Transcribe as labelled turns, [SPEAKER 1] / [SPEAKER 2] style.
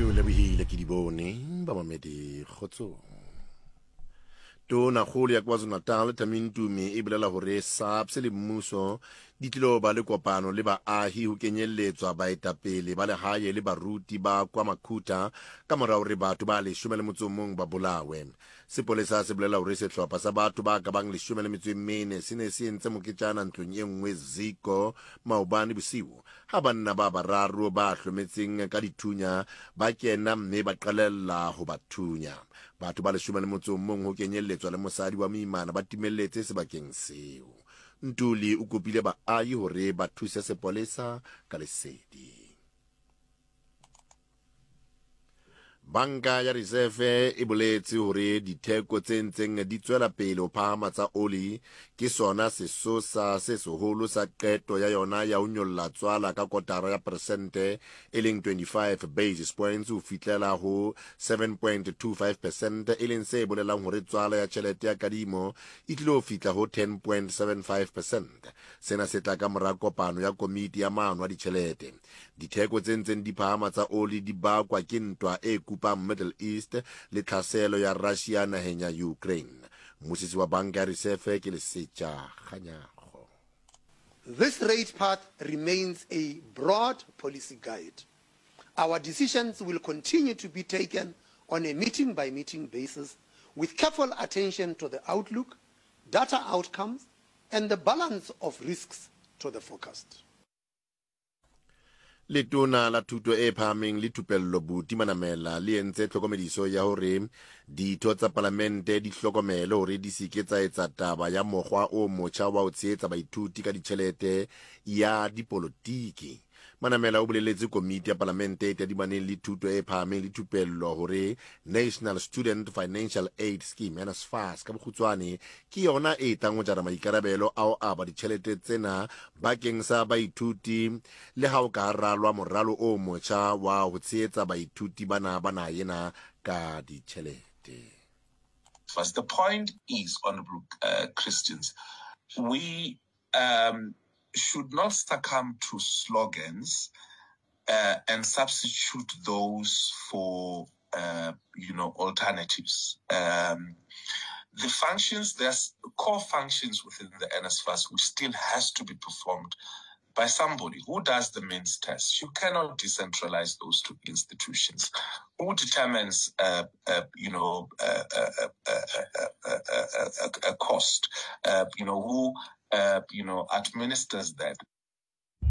[SPEAKER 1] Ke o lebohile ke di bone bamamedi kgotsong. Tonakgolo ya KwaZulu-Natal Thami Ntumi e bolela hore SAPS le mmuso di tlilo ba le kopano le baahi ho kenyelletswa baetapele ba lehae le baruti ba kwa Makhutha ka mora hore batho ba 11 ba bolawe. Sepolesa se bolela hore sehlopha sa batho ba ka bang 14 se ne se entse moketjana ntlong e nngwe Ziko maobane bosiu ha banna ba bararo ba hlometseng ka dithunya ba kena mme ba qalella ho ba thunya. Batho ba 11 ho kenyelletswa le mosadi wa moimana ba timelletse sebakeng seo. Ntuli o kopile baahi hore ba thuse sepolesa ka lesedi. Banka ya Reserve e boletse hore ditheko tse ntseng di tswela pele ho phahama tsa oli ke sona sesosa se seholo sa qeto ya yona ya ho nyolla tswala ka kotara ya peresente e leng 25 basis points ho fihlela ho 7.25 percent, e leng se bolelang hore tswala ya tjhelete ya kadimo e tlilo fihla ho 10.75 percent. Sena se tla ka mora kopano ya komiti ya maano a ditjhelete. Ditheko tse ntseng di phahama tsa oli di bakwa ke ntwa e kupang Middle East le tlhaselo ya Russia naheng ya Ukraine. Mmusisi wa Banka ya Risefe ke Lesetja Kganyago.
[SPEAKER 2] This rate path remains a broad policy guide. Our decisions will continue to be taken on a meeting-by-meeting basis with careful attention to the outlook, data outcomes, and the balance of risks to the forecast.
[SPEAKER 1] Letona la Thuto e Phahameng le Thupello Buti Manamela le entse tlhokomediso ya hore ditho tsa palamente di hlokomele hore di se ke tsa etsa taba ya mokgwa o motjha wa ho tshehetsa baithuti ka ditjhelete ya dipolotiki. Manamela o boleletse komiti ya palamente e tadimaneng le thuto e phahameng le thupello hore National Student Financial Aid Scheme, NSFAS ka bokgutshwane, ke yona e tlang ho jara maikarabelo a ho aba ditjhelete tsena bakeng sa baithuti le ha o ka ralwa moralo o motjha wa ho tshehetsa baithuti bana ba naha ena ka ditjhelete.
[SPEAKER 3] First, the point is, Honorable Christians, we should not succumb to slogans and substitute those for, you know, alternatives. The functions, there's core functions within the NSFAS which still has to be performed by somebody who does the means test. You cannot decentralize those two institutions. Who determines, you know, a cost? You know, who, you know, administers that?